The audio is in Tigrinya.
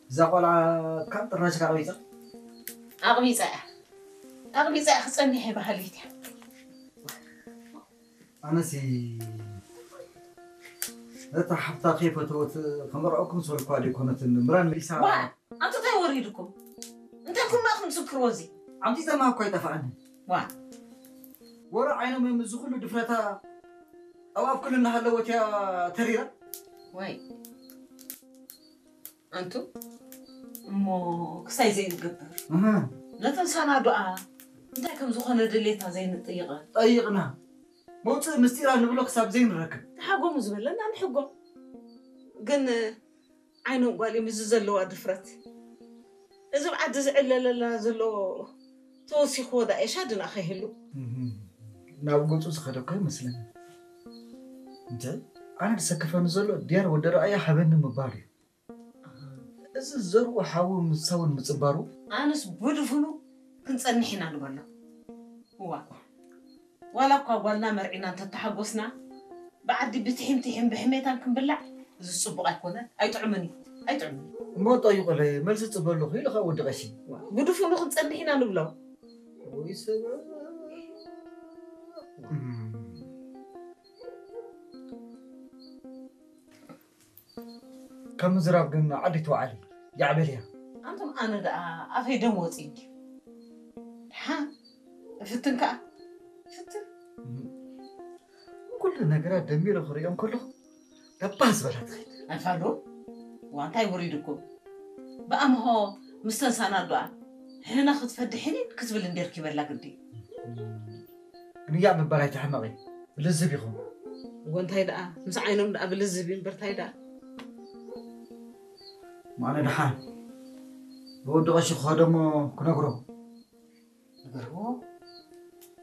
እዛ ቆልዓ ካብ ጥራሽ ኣቕቢጻ ኣቕቢጻ እያ ኣቕቢጻ እያ ክጸኒሕ እየ በሃሊት እያ። ኣነሲ እታ ሓፍታ ከይፈተወት ከመርዐኩም ዝበልኳ ደይኮነትን ምራን መሊሳ ዋ! ኣንቱ እንታይ ወሪድኩም እንታይ ኩማ ኢኹም ትዝክርዎ እዚ ኣምቲፀማ እኳ ኣይጠፋኣኒ ዋ! ወረ ዓይኖም እዮም እዚ ኩሉ ድፍረታ ኣብ ኣፍ ኩሉ እናሃለወት እያ ተሪራ ወይ ኣንቱ እሞ ክሳይ ዘይንገብር እህ፣ ነተን ሳናዱኣ እንታይ ከም ዝኾነ ድሌታ ዘይንጥይቐ ጠይቕና መውፅእ ምስጢራ ንብሎ ክሳብ ዘይንረክብ ተሓጎሙ ዝበለና ንሕጎ ግን ዓይኖም ጓል እዮም እዚ ዘለዋ ድፍረት እዚ ኣብ ዓዲ ዝዕለለላ ዘሎ ተወሲኽዎ ዳ ኤሻ ድና ከይህሉ እህ፣ ናብ ገፁ ዝኸደ እኮ ይመስለኒ እንተ ኣነ ዝሰከፈኒ ዘሎ ድያር ወዲ ረኣያ ሃበኒ ምባል እዩ እዚ ዘርኡ ሓዊ ምሳውን ምጽባሩ ኣነስ ብድፍኑ ክንጸንሕ ኢና ንበሎ እዋ ዋላ እኳ ጓልና መርዒና እንተተሓጎስና ብዓዲ ብትሒም ትሒም ብሕሜታን ክንብላዕ እዚ ጽቡቕ ኣይኮነን ኣይጥዕምን እዩ ኣይጥዕምን እሞ ጠይቁለይ መልሲ ጽበሉ ኢሉ ካብ ወዲ ቀሺ ብድፍኑ ክንጸንሕ ኢና ንብሎ ወይ ሰብ ከም ምዝራብ ግን ዓዲ ትውዓል ይዓበል እያ ኣንቱም ኣነ ደኣ ኣፈይ ደም ወፂ እንዲ ሓ እፍትን ከዓ ፍትን ኩሉ ነገራት ደሚረ ክሪኦም ከለኹ ደባህ ዝበላ ትኸይድ ኣፋዶ ዋንታይ ውሪድኩም ብኣምሆ ምስ ተንሳና ዶኣ ሕነ ክትፈድሕኒ ክትብል እንዴርኪበላ ግዲ ግንያዕ ምባል ኣይትሕመቒ ብልዝብ ኢኹም እወ እንታይ ደኣ ምስ ዓይኖም ደኣ ብልዝብ እዩ እምበር እንታይ ደኣ ማነ ደሓን ንወዲ ቀሺ ክኸደሞ ክነግሮ ንገርዎ